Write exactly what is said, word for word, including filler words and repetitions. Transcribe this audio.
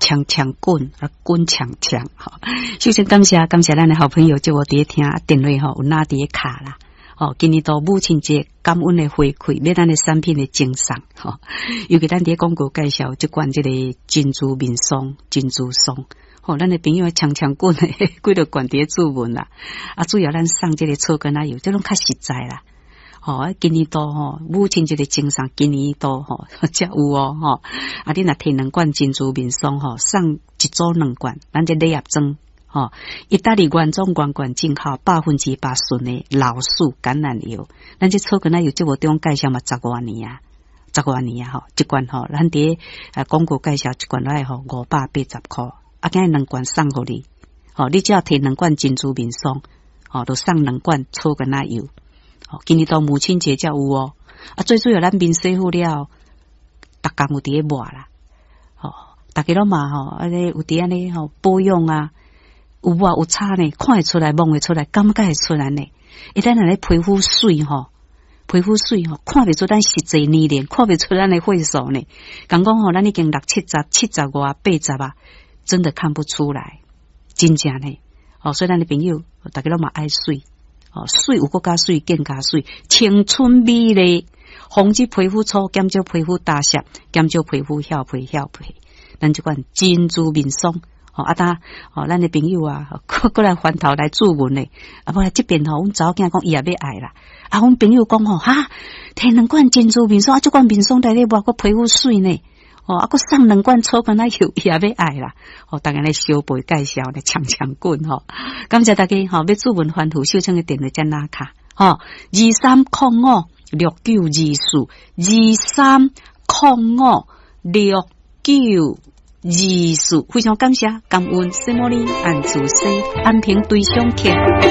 強強滾啊，滾強強吼。首先感謝感謝咱的好朋友，叫我佇咧聽電話吼，有哪佇咧卡啦。吼，今年度母親節感恩的回饋，欲咱的產品的贈送吼。尤其咱佇咧廣告介紹這罐這個珍珠面霜、珍珠霜，吼，咱的朋友強強滾的幾多罐佇咧注文啦。啊，主要咱送這個草根仔油，這攏較實在啦。吼，今年度吼母親節的贈送，今年度吼才有哦吼。啊，你若提兩罐珍珠面霜吼，送一組兩罐，咱這禮盒裝。吼，意大利原裝原罐進口百分之百純的老樹橄欖油，咱這草根仔油節目中介紹嘛十外年啊，十外年啊吼，一罐吼，咱佇啊廣告介紹一罐來吼五百八十箍，啊，今日兩罐送予你，吼，你只要提兩罐珍珠面霜，吼，就送兩罐草根仔油，吼，今年到母親節才有哦，啊，最主要咱面洗好了，逐工有佇咧抹啦，吼，逐家攏嘛吼，按呢有佇按呢吼保養啊。有抹有差呢，看會出來，摸會出來，感覺會出來呢。伊咱若咧皮膚媠吼，皮膚媠吼，看袂出咱實際年齡，看袂出咱的歲數呢。講講吼，咱已經六七十、七十外、八十啊，真的看不出來，真正呢。哦，所以咱的朋友，逐家攏嘛愛媠，哦，媠有閣較媠，更加媠，青春美麗，防止皮膚粗，減少皮膚焦澀，減少皮膚翹皮翹皮。咱這款珍珠面霜。吼啊！呾吼，咱的朋友啊，閣閣來翻頭來注文咧。啊，無來這邊吼，阮查某囝講伊也欲愛啦。啊，阮朋友講吼，哈，提兩罐珍珠面霜，啊，這罐面霜來咧抹，閣皮膚媠呢。哦，啊，閣送兩罐草根仔油，伊也欲愛啦。吼，逐家來相背介紹咧，強強滾吼。感謝大家吼，欲注文翻圖，秀清的電話遮拿卡吼，二三空五六九二四，二三空五六九二四，非常感謝，感恩聖母哩安祖師安平對象客。